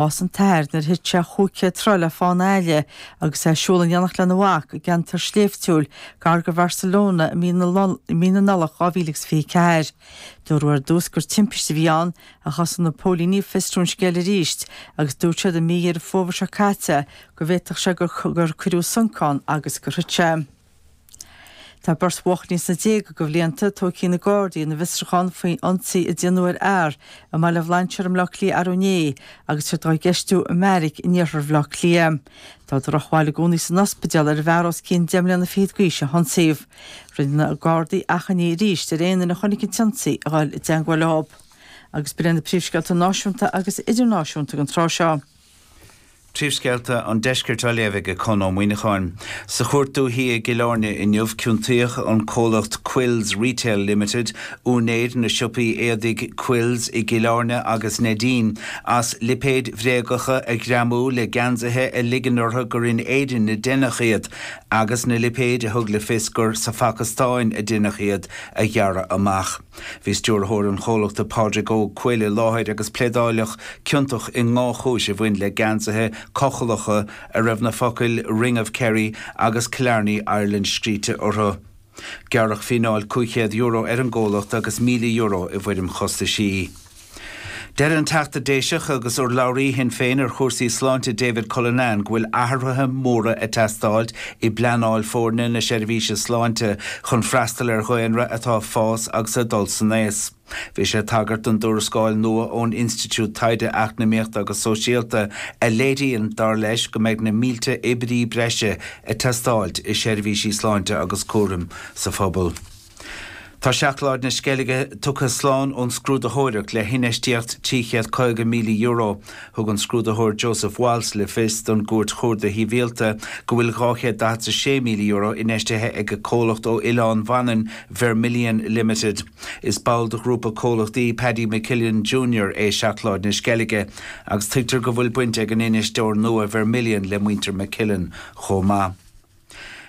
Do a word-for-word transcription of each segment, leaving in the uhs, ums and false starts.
Bás an t-athair nuair a thit sé chúig chéad troigh le fána aille agus é ag siúl in éineacht lena mhac i gceantar sléibhtiúil gar do Bharcelona i mí na Nollag dhá mhíle agus fiche ceathair. Dúradh ar dtús gur timpiste a bhí ann ach thosaigh na póilíní ag fiosrú an scéil arís agus dúirt siad i mí Dheireadh Fómhair seo caite go bhféadfadh sé gur cuireadh sonc ann agus gur thit sé. Tá beirt bhuachaillí sna déaga de bhlianta tógtha ag na Gardaí ina bhfiosrúchán faoi ionsaí a déanadh ar fhear i mBaile Bhlainséir i mBleá Cliath arú inné agus iad á gceistiú i mbeairic in iarthar Bhaile Átha Cliath. Tá drochbhail i gcónaí san ospidéal ar an bhfear os cionn deich mbliana fichead d'aois a hionsaíodh. Rinne na Gardaí achainí arís ar aon duine a chonaic an t-ionsaí a dhul i dteagmháil leo. Agus b'in na príomhscéalta náisiúnta agus idirnáisiúnta don tráth seo. Príomhscéalta an Deiscirt á léamh ag Conn Ó Muíneacháin. Sa Chúirt Dúiche i gCill Airne inniu, ciontaíodh an comhlacht Quills Retail Limited, úinéir na siopaí éadaigh Quills i gCill Airne agus Neidín, as lipéid bhréagacha a ghreamú le geansaithe a ligean orthu gur in Éirinn a deineadh iad agus na lipéid a thug le fios gur sa Phacastáin a deineadh iad a ghearradh amach. Bhí stiúrthóir an chomhlachta Pádraig Óg Quill i láthair agus pléadáladh ciontach i ndhá chúis a bhain le geansaithe cochallacha a raibh na focail 'Ring of Kerry' agus 'Killarney Ireland' scríte orthu. Gearradh fíneáil cúig chéad euro ar an gcomhlacht agus míle euro i bhfoirm chostaisí. Deir an Teachta Déiseach agus urlabhraí Shinn Féin ar chúrsaí sláinte David Cullinane go bhfuil athruithe móra ag teastáilt i bpleanáil foirne na seirbhíse sláinte chun freastal ar dhaonra atá ag fás agus ag dul san aos. Bhí sé ag tagairt don dtuarascáil nua ón Institiúid Taighde Eacnamaíochta agus Sóisialta a léiríonn, dar leis, go mbeidh na mílte oibrí breise ag teastáilt i seirbhísí sláinte agus cúraim sa phobal. Tá Seacláid na Sceilge tugtha slán ón scrúdaitheoireacht le hinfheistíocht trí chéad caoga míle euro. Thug an scrúdaitheoir Joseph Walsh le fios don gCúirt Chuarda Shibhialta go bhfuil dhá chéad daichead a sé míle euro infheistithe ag comhlacht ó Oileán Mhanann, Vermilion Limited. Is ball de ghrúpa comhlachtaí Paddy McKillen Junior é Seacláid na Sceilge agus tuigtear go bhfuil baint ag an infheisteoir nua Vermilion le muintir McKillen chomh maith.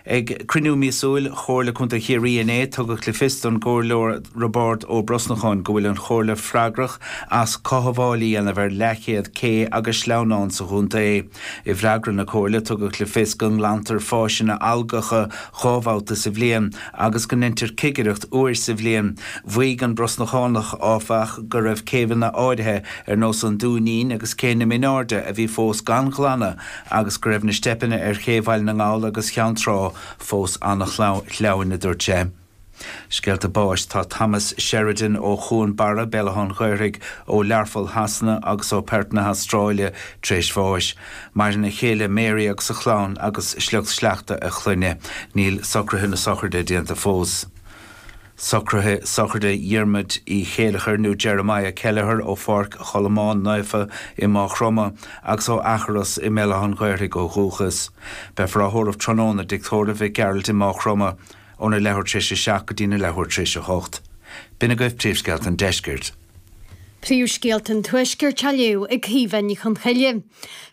Ag cruinniú míosúil Chomhairle Contae Chiarraí inné, tugadh le fios don gComhairleoir Roibeárd Ó Brosnacháin go bhfuil an Chomhairle freagrach as cothabháil a dhéanamh ar leathchéad cé agus sleamhnán sa chontae. I bhfreagra na Comhairle, tugadh le fios go nglantar fáiseanna algacha dhá bhabhta sa bhliain agus go ndeintear cigireacht uair sa bhliain. Mhaígh an Brosnachánach, áfach, go raibh céibheanna áirithe ar nós an Dúinín agus Cé na Mionairde a bhí fós gan ghlanadh agus go raibh na steipeanna ar Ché Bhaile na nGall agus Cheann Trá fós an-shleamhain, a dúirt sé. Scéalta báis Tá Thomas Sheridan ó Chuan Barra, Béal Átha an Ghaorthaidh, ó Learpholl Shasana agus ó Perth na hAstráile tar éis bháis. Maireann a chéile Mary agus a chlann agus sliocht sleachta a chlainne. Níl socruithe na sochraide déanta fós. Socruithe sochraide Dhiarmuid Uí Chéileachair nó Jeremiah Kelleher ó Pháirc Cholmáin Naofa i Maigh Chromtha agus ó Eachros i mBéal Átha an Ghaorthaidh ó dhúchas. Beifear á thórramh tráthnóna i dTigh Tórraimh Mhic Gearailt i Maigh Chromtha óna leathuair tar éis a seacht go dtína leathuair tar éis a hocht. B'in agaibh príomhscéalta an deiscirt. Príomhscéalta an Tuaiscirt á léamh ag Caoimhe Ní Chonchoille.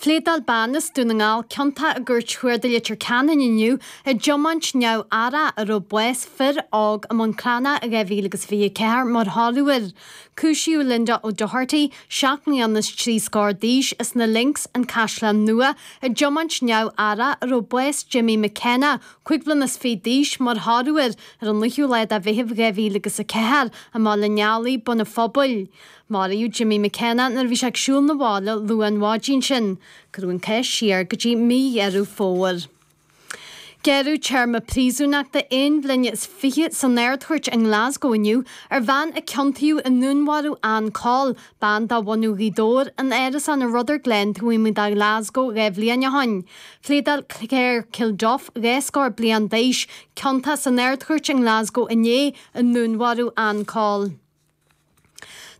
Phléadáil bean as Dún na nGall ciontach i gCúirt Chuarda Leitir Ceanainn inniu i dtiomáint neamh-aireach a raibh bás fir óg i mBun Cranncha i dhá mhíle agus fiche a ceathair mar thoradh air. Cúisíodh Linda O'Doherty, seacht mbliana is trí scór d'aois, as na Links, An Caisleán Nua, i dtiomáint neamh-aireach a raibh bás Jimmy McKenna, cúig bliana is fiche d'aois, mar thoradh air ar an naoú lá de Mheitheamh dhá mhíle agus a ceathair i mBaile an Eallaigh, Bun an Phobail. Maraíodh Jimmy McKenna nuair a bhí sé ag siúl 'na bhaile luath an mhaidin sin. Cuireadh an cás siar go dtí mí Dheireadh Fómhair. Gearradh téarma príosúnachta aon bhliain is fiche san Ard-Chúirt i nGlasgow inniu ar bhean a ciontaíodh i ndúnmharú Ann Coll, bean de bhunadh Ghaoth Dobhair, in árasán i Rutherglen taobh amuigh de Ghlasgow dhá bhliain ó shin. Phléadáil Claire Kilduff, dhá scór bliain d'aois, ciontach san Ard-Chúirt i nGlasgow inné i ndúnmharú Ann Coll.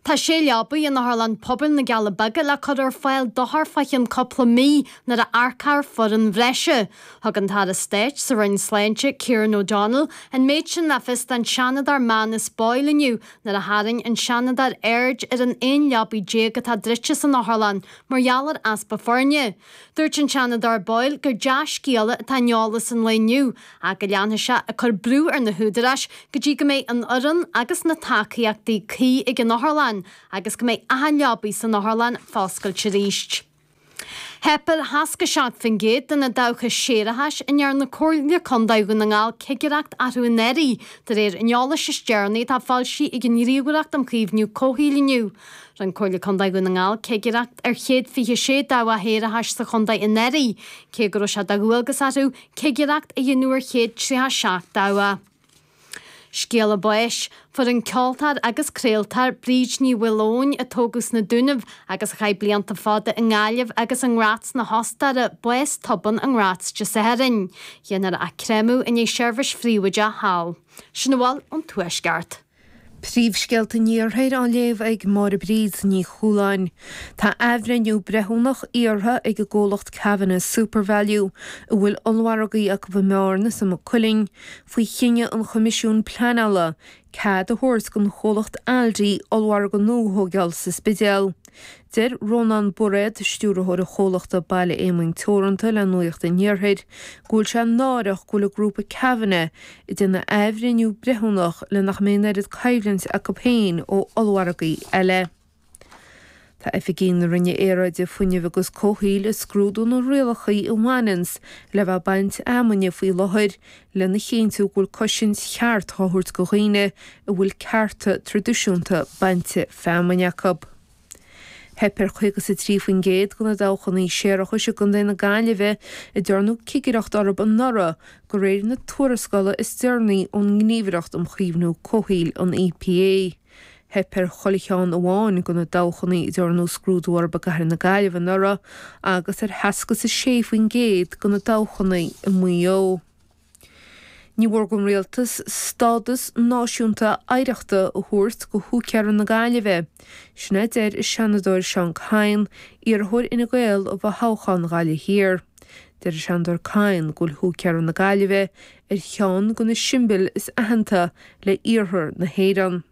Tá sé leabaidh in Otharlann Pobail na gCealla Beaga le cur ar fáil d'othair fá cheann cúpla mí nuair a earcófar foireann bhreise. Thug an tAire Stáit sa Roinn Sláinte, Kieran O'Donnell, an méid sin le fios don Seanadóir Manus Boyle inniu nuair a tharraing an Seanadóir aird ar an aon leabaidh déag atá druidte san otharlann mar gheall ar easpa foirne. Dúirt an Seanadóir Boyle gur dea-scéala atá in eolas an lae inniu ach go leanfaidh sé ag cur brú ar na húdaráis go dtí go mbeidh an fhoireann agus na tacaíochtaí cuí ag an otharlann agus go mbeidh achan leabaidh san otharlann foscailte arís. Theip ar sheasca seacht faoin gcéad de na dabhcha séarachais a ndearna Comhairle Contae Dhún na nGall cigireacht orthu anuraidh, de réir an eolais is deireanaí atá foilsithe ag an nGníomhaireacht um Chaomhnú Comhshaoil inniu. Rinne Comhairle Contae Dhún na nGall cigireacht ar chéad fiche sé dabhach shéarachais sa chontae anuraidh, cé go raibh sé de dhualgas orthu cigireacht a dhéanamh ar chéad tríocha seacht dabhach. Scéala báis, Fuair an ceoltóir agus craoltóir Bríd Ní Mhaoileoin, a tógadh sna Dúnaibh agus a chaith blianta fada i nGaillimh agus i nGraz na hOstaire, bás tobann i nGraz Dé Sathairn. Déanfar a créamadh i ndiaidh seirbhís phríobháideach thall. Sin a bhfuil ón Tuaisceart. Príomhscéalta an Iarthair á léamh ag Máire Bríd Ní Chualáin. Tá athbhreithniú breithiúnach iarrtha ag an gcomhlacht Kavanagh SuperValu, a bhfuil ollmhargaí acu i mBearna is i Maigh Cuilinn, faoi chinneadh an Choimisiúin Pleanála cead a thabhairt don chomhlacht Aldi ollmhargadh nua a thógáil sa Spidéal. Deir Rónán Bairéad, stiúrthóir an chomhlachta Baile Éamoinn Teoranta le Nuacht an Iarthair, go bhfuil sé náireach go bhfuil an grúpa Kavanagh ag déanamh athbhreithniú breithiúnach le nach mbeidh an oiread coimhlint acu féin ó ollmhargaí eile. Tá oifigigh na Roinne Aeráide, Fuinnimh agus Comhshaoil ag scrúdú na rialacha a bhaineanns le bheith ag baint fheamainne faoi láthair lena chinntiú go bhfuil cosaint cheart á thabhairt do dhaoine a bhfuil cearta traidisiúnta bainte feamainne acu. Theip ar chaoga is a trí faoin gcéad de na dabhchanna séarachais i gContae na Gaillimhe a ndearnadh cigireacht orthu anuraidh de réir na tuarascála is deireanaí ón nGníomhaireacht um Chaomhnú Comhshaoil, an EPA. Theip ar chuile cheann amháin de na dabhchanna a ndearnadh scrúdú orthu i gcathair na Gaillimhe anuraidh agus ar sheasca is a sé faoin gcéad de na dabhchanna i Maigh Eo. Ní mhór don rialtas stádas náisiúnta oidhreachta a thabhairt do Húicéara na Gaillimhe. Sin a deir an Seanadóir Seán Kyne, iarrthóir Fhine Gael i bhfothoghchán Ghaillimh Thiar. Deir an Seanadóir Kyne go bhfuil Húicéara na Gaillimhe ar cheann de na siombail is aitheanta le iarthar na hÉireann.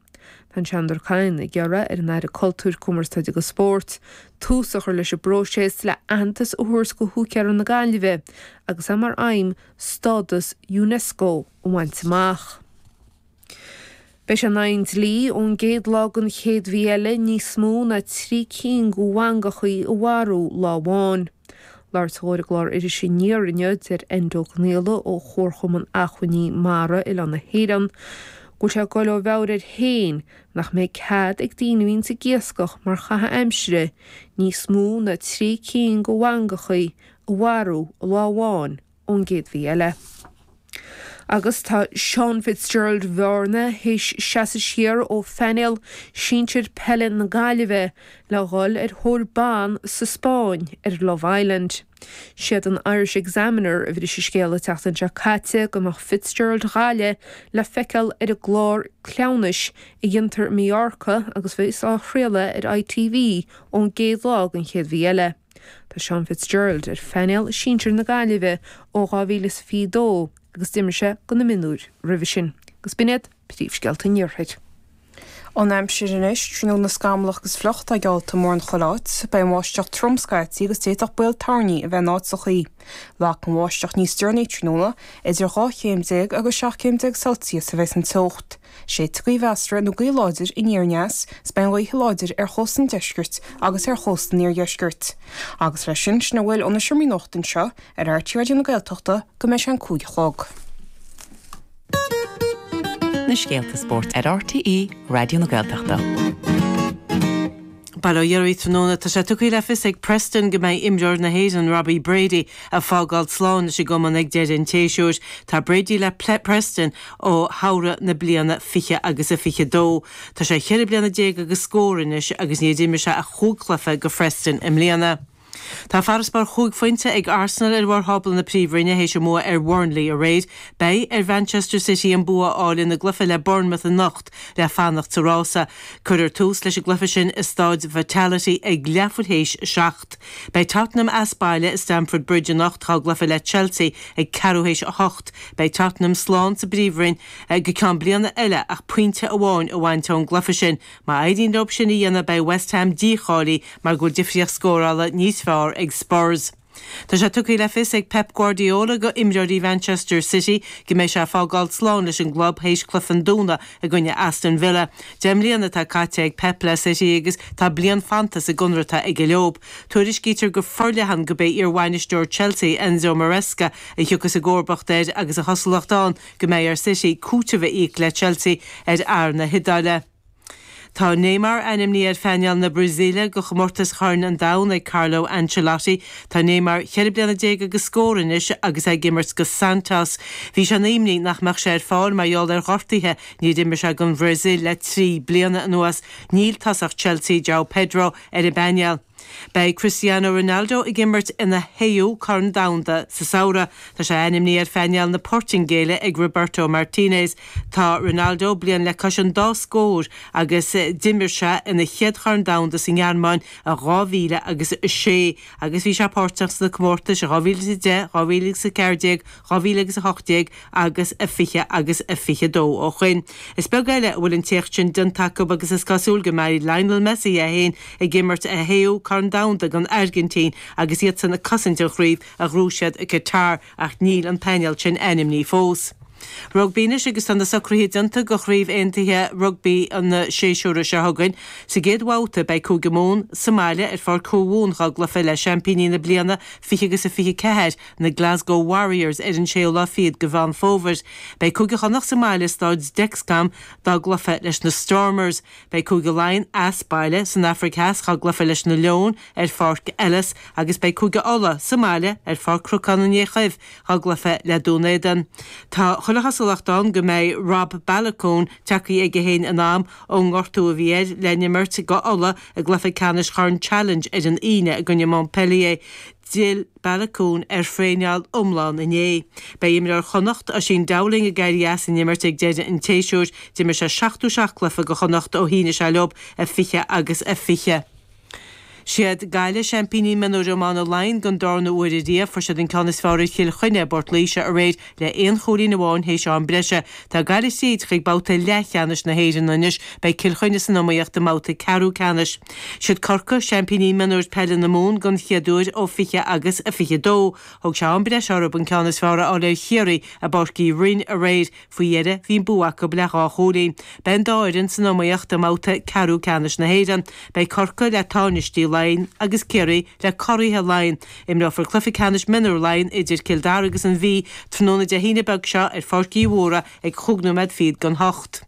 Tá an Seanadóir Kyne ag iarraidh ar an Aire Cultúir, Cumarsáide agus Spóirt tús a chur leis an bpróiseas le aitheantas a thabhairt do Húicéara na Gaillimhe agus é mar aidhm stádas Unesco a bhaint amach. Beidh sé in aghaidh an dlí ón gcéad lá den chéad mhí eile níos mó ná trí cinn de mhangachaí a mharú lá amháin. Labhairt dhó ar an gclár Iris Aniar inniu, deir Enda Ó Conaola ó Chomharchumann Acmhainní Mara Oileán na hÉireann go bhfuil sé ag goil ó mheabhair air féin nach mbeidh cead ag daoine a bhíonns ag iascach mar chaitheamh aimsire níos mó ná trí cinn de mhangachaí a mharú lá amháin ón gcéad mhí eile. Agus tá Seán Fitzgerald Bhearna théis seasamh siar ó phainéal sinsir peile na Gaillimhe le dhul ar thóir ban sa Spáinn ar Love Island. Siad an Irish Examiner a bhris an scéal an tseachtain seo caite go mbeadh Fitzgerald Ghaillimh le feiceáil ar an gclár cleamhnais a dhéantar i Mallorca agus bheas á chraoladh ar ITV ón gcéad lá den chéad mhí eile. Tá Seán Fitzgerald ar phainéal sinsir na Gaillimhe ó dhá mhíle is fiche dó agus d'imir sé do na mionúir roimhe sin. Agus b'in iad príomhscéalta an Iarthair. An aimsir anois, tráthnóna scamallach agus fliuch atá geallta mórán chuile áit, beidh an bháisteach trom scaití agus d'fhéadfadh baol toirní a bheith in áiteachaí. Rachaidh an bháisteach níos deireanaí tráthnóna, idir dhá chéim déag agus seacht gcéim déag Celsius a bheas an teocht. Séidfidh gaoth mheasartha nó gaoth láidir aniar aneas is beidh an ghaoth láidir ar chósta an deiscirt agus ar chósta an iardheiscirt. Agus leis sin, sin a bhfuil ó na seomraí nuachta anseo ar RTÉ Raidió na Gaeltachta go mbeidh sé an cúig a chlog. Na scéalta spóirt ar RTÉ Raidió na Gaeltachta. Bail ó Dhia oraibh tráthnóna tá sé tugtha le fios ag Preston go mbeidh imreoir na hÉireann Robbie Brady ag fágáil slán leis an gcumann ag deireadh an tséasúir. Tá Brady le Preston ó shamhradh na bliana fiche agus a fiche dó. Tá sé cheithre bliana déag agus scór anois agus níor d'imir sé ach chúig chluiche do Phreston i mbliana. Tá farasbarr chúig phointe ag Arsenal ar bharr thábla na Príomhroinne théis a mbua ar Burnley aréir. Beidh ar Mhanchester City an bua a fháil ina gcluiche le Bournemouth anocht le fanacht sa rása. Cuirfear tús leis an gcluiche sin i Staid Vitality ag leathuair théis a seacht. Beidh Tottenham as baile i Stamford Bridge anocht dá gcluiche le Chelsea ag ceathrú théis a hocht. Beidh Tottenham slán sa bPríomhroinn go ceann bliana eile ach pointe amháin a bhaint ón gcluiche sin. Má éiríonn leo sin a dhéanamh beidh West Ham dícháilithe mar go bhfuil difríocht scórála níos fearr ag Spurs. Tá sé tugtha le fios ag Pep Guardiola go imreoirí Mhanchester City go mbeidh sé ag fágáil slán leis an gclub théis cluiche an Domhnaigh i gcoinne Aston Villa. Deich mbliana atá caite ag Pep le City agus tá bliain fanta sa gconradh atá aige leo. Tuairiscítear go forleathan gurb é iarbhainisteoir Chelsea Enzo Maresca a thiocfas i gcomharbacht air agus an chosúlacht ann go mbeidh ar City cúiteamh a íoc le Chelsea ar fhear na hIodáile. Tá Neymar ainmnithe ar phainéal na Brasaíle go chomórtas Chorn an Domhain ag Carlo Ancelotti. Tá Neymar cheithre bliana déag agus scór anois agus é ag imirt go Santos. Bhí sé ina imní nach mbeadh sé ar fáil mar gheall ar ghortuithe, níor imir sé don Bhrasaíl le trí bliana anuas. Níl tosach Chelsea João Pedro ar an bpainéal. Beidh Cristiano Ronaldo ag imirt ina shéú Corn Domhanda sa samhradh. Tá sé ainmnithe ar phainéal na Portaingéile ag Roberto Martinez. Tá Ronaldo bliain le cois an dá scór agus d'imir sé ina chéad Chorn Domhanda sa nGearmáin i dhá mhíle agus a sé agus bhí sé páirteach sna comórtais i dhá mhíle is a deich, dhá mhíle agus a ceathair déag, dhá mhíle agus a hocht déag agus a fiche agus a fiche dó ó shoin. Is beag eile a bhfuil an t-éacht sin déanta acu agus is cosúil go mbeidh Lionel Messi é féin ag imirt a shéú Corn Domhanda don Airgintín agus iadsan ag cosaint an chraobh a ghnóthaigh siad i Qatar ach níl an painéal sin ainmnithe fós. Rugbaí anois agus tá na socruithe déanta go Chraobh Aontaithe Rugbaí an séasúr seo chugainn. Sa gcéad bhabhta beidh Cúige Mumhan sa mbaile ar Pháirc Thuamhumhan dhá gcluiche le seaimpíní na bliana fiche agus a fiche ceathair, na Glasgow Warriors ar an séú lá fichead go Mheán Fómhair. Beidh Cúige Chonnacht sa mbaile i Stáid Dexcom dá gcluiche leis na Stormers. Beidh Cúige Laighean as baile san Afraic Theas dhá gcluiche leis na Leoin ar Pháirc Ellis agus beidh Cúige Uladh sa mbaile ar Pháirc Chnocán an Fhéich Dhuibh dhá gcluiche le Dún Éideann. Tá chuile chosúlacht ann go mbeidh Rob Baloucoune tagtha chuige féin in am ón ngortú a bhí air le n-imirt go Uladh i gcluiche ceannais Chorn Challenge ar an Aoine i gcoinne Montpellier. D'fhill Baloucoune ar thraenáil iomlán inné. Beidh imreoir Chonnacht, Oisín Dowling ag éirí as an imirt ag deireadh an tséasúir. D'imir sé seachtó seacht cluiche go Chonnacht ó shínigh sé leo i fiche agus a fiche. Siad Gaillimh seaimpíní mionúir iomána Laighean don darna huair ariamh. Fuair siad an ceann is fearr ar Chill Chainnigh i bPort Laoise aréir le aon chúilín amháin théis am breise. Tá Gaillimh tríd chuig babhta leathcheannais na hÉireann anois. Beidh Cill Chainnigh san iomaíocht i mbabhta ceathrú ceannais. Siad Corcaigh seaimpíní mionúir peile na Mumhan don chéad uair ó fiche agus a fiche dó. Thóg sé am breise orthu an ceann is fearr a fháil ar Chiarraí i bPáirc Uí Rinn aréir. Faoi dheireadh bhí an bua acu le dhá chúilín. Beidh an dá fhoireann san iomaíocht i mbabhta ceathrú ceannais na hÉireann. Beidh Corcaigh le tánaistí Laighean agus Ciarraí le curaithe Laighean. Imreofar cluiche ceannais mionúr Laighean idir Cill Dara agus an Mhí tráthnóna Dé hAoine beag seo ar Pháirc Uí Mhórdha ag chúig nóiméad fichead don hocht.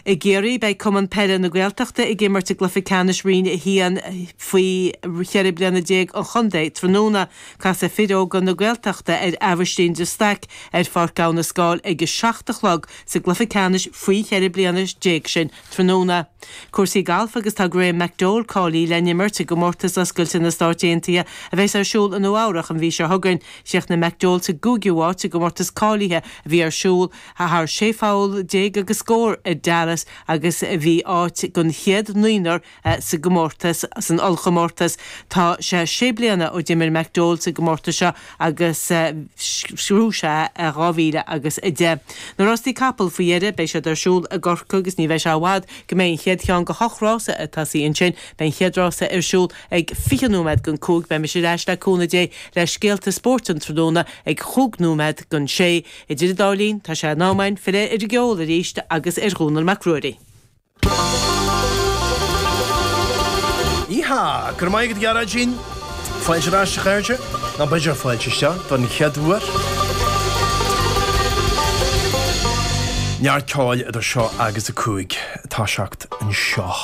I gCiarraí, beidh Cumann Peile na Gaeltachta ag imirt i gcluiche ceannais Roinn a haon faoi cheithre bliana déag an chontae tráthnóna. Casfaidh fir óga na Gaeltachta ar Aibhistín de Staic ar Pháirc Abha na Scáil ag a seacht a chlog sa gcluiche ceannais faoi cheithre bliana déag sin tráthnóna. Cúrsaí gailf agus tá Graham McDowell cáilithe le n-imirt i gcomórtas oscailte na Stáit Aontaithe a bheas ar siúl i Nua Eabhrach an mhí seo chugainn. Chríochnaigh McDowell sa gcúigiú háit i gcomórtas cáilithe a bhí ar siúl thar sé pholl déag agus scór i Dallas agus bhí áit den chéad naonúr sa gcomórtas san ollchomórtas. Tá sé sé bliana ó d'imir McDowell sa gcomórtas seo agus bhuaigh sé i dhá mhíle agus a deich. Na rástaí capall faoi dheireadh, beidh siad ar siúl i gCorcaigh agus ní bheidh sé i bhfad go mbeidh an chéad cheann de hocht rása ag tosaí ansin. Beidh an chéad rása ar siúl ag fiche nóiméad don cúig. Beidh mise ar ais le cúnamh Dé le scéalta spóirt an tráthnóna ag chúig nóiméad don sé. Idir an dá linn, tá sé in am againn filleadh ar an gceol arís agus ar Dhónall Mac Ruairí. Yeehaw! Go raibh maith agat a Ghearóidín. Fáilte ar ais a chairde, nó b'fhéidir fáilte isteach don chéad uair. Neart ceoil idir seo agus a cúig, toiseacht anseo.